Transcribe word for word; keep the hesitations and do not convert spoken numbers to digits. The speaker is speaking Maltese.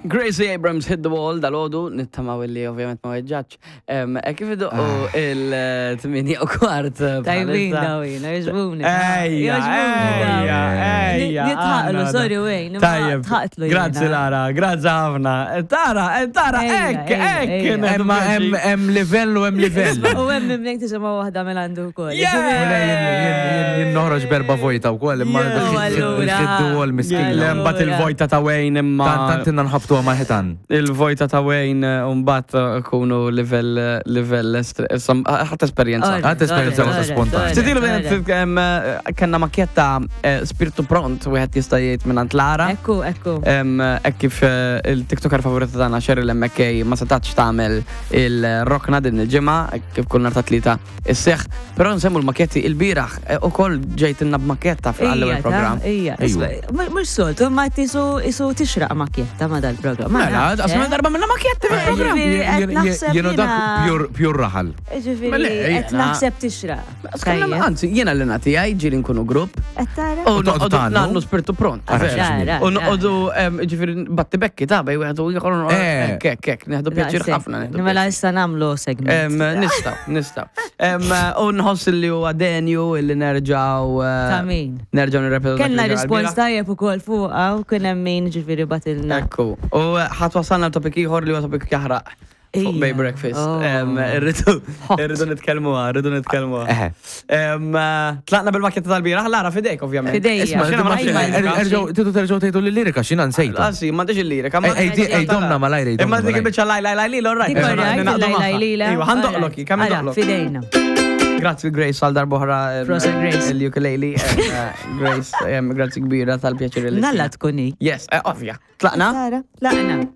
Gracie Abrams Hit the Wall dal-ħodu, nittamaw illi ovvjament ma weġġax. E kif idoqqu Ah. il-tmienja u kwart. eh, Tajbin bħalissa. dawin, jogħġbuni. Ejja, ejja, ejja. Nitħaqlu, għanna sorry, da. Wayne. Tajjeb, Tħaqtlu. grazzi Lara, grazzi ħafna. Tara, eh, tara, Ejja, ekk, ejja, ekk. ejja. neħdu Emma pjaċir. hemm hemm livell u hemm livell. U hemm mimlek tisimgħu waħda minn għandu wkoll. Yeah! Le, jien- jien- jien- Jien noħroġ berba vojta wkoll imma Yeah. Allura. il-ħiddu għol miskin. Le, mbagħad il-vojta ta' Wayne imma. Tant tant inna nħabtu ma' ħitan. Il-vojta ta' Wayne eh, mbagħad eh, kunu livell eh, livell estre- sam- ħadd esperjenza. Alright, Ħadd esperjenza alright, waħda spontan. alright, Ftit ilu alright. bejn eh, kellna makjetta eh, spiritu pront wieħed jista' jgħid minn Lara. Ekku, ekku. Em, Hekk kif eh, il-TikToker favorita tagħna Cheryl M K ma setax tagħmel il-rokna din il-ġimgħa hekk kif kull nhar ta' Tlieta isseħ, però nsemmu l-makjetti, il-bieraħ eh, ukoll ġejtilna b'makjetta fl-ewwel programm. Ija, Ejwa. mux soltu, ma tisu isu tixraq makjetta ma dal-programm. Ma Mela, nafx, qasma eh. darba minna makjetti fil-programm. Ġifieri, qed naħseb Jienu dak jiena- pure- pure raħal. Ġifieri, Mela, qed jiena- naħseb tixraq. Skonna, Tajjeb. anzi, jiena li nagħti għaj ġieli nkunu grupp. Qed tara? U U toqgħodu noqogħdu tgħannu? nagħmlu spiritu pront. Ara, vera. Ara, U ara. noqogħdu em, ġifieri batti bekki ta' bej wieħed u ieħor Eh. hekk hekk hekk nieħdu pjaċir ħafna. Nieħdu Mela pjaċir. issa nagħmlu Em, segment. Nistaw, nistaw. Em, U nħoss li huwa denju illi nerġaw. eh, Ta' min? Nerġaw nirrepetu dak Kellna li ġara rispons l-bieraħ. tajjeb ukoll fuqha u kien hemm min ġifieri batilna. Ekku. U ħadd wasalna l-topic ieħor li huwa topic jaħraq. Fuq Ija. Bay Breakfast. Oh. Em, Irridu Hot. irridu nitkellmuha, irridu nitkellmuha. Eħe. Em, eh, Tlaqna bil-makketta tal-bieraħ, Lara fidejk ovvjament. Fidejja. Isma' xina ma nafx Ajma, il-lirika. Erġgħu, tidu terġgħu tgħidu l-lirika x'jiena nsejtu. Anzi, m'għandix il-lirika. ma- Ej, ej, ej, domna malajr, ej, domna Imma dik malajr. il-biċċa laj laj laj li, all right. Dik all right, Ninaqdu laj, laj, magħha. lila. Iva, ħandoqlok, kemm Ara, indoqlok. fidejna. Grazzi Grace għal darbohra em, Proset, Grace. Il-ukulele. em, eh, Grace, em, grazzi kbira tal-pjaċir li. Nalla tkuni. Yes, eh, ovvja. Tlaqna? Tara, tlaqna.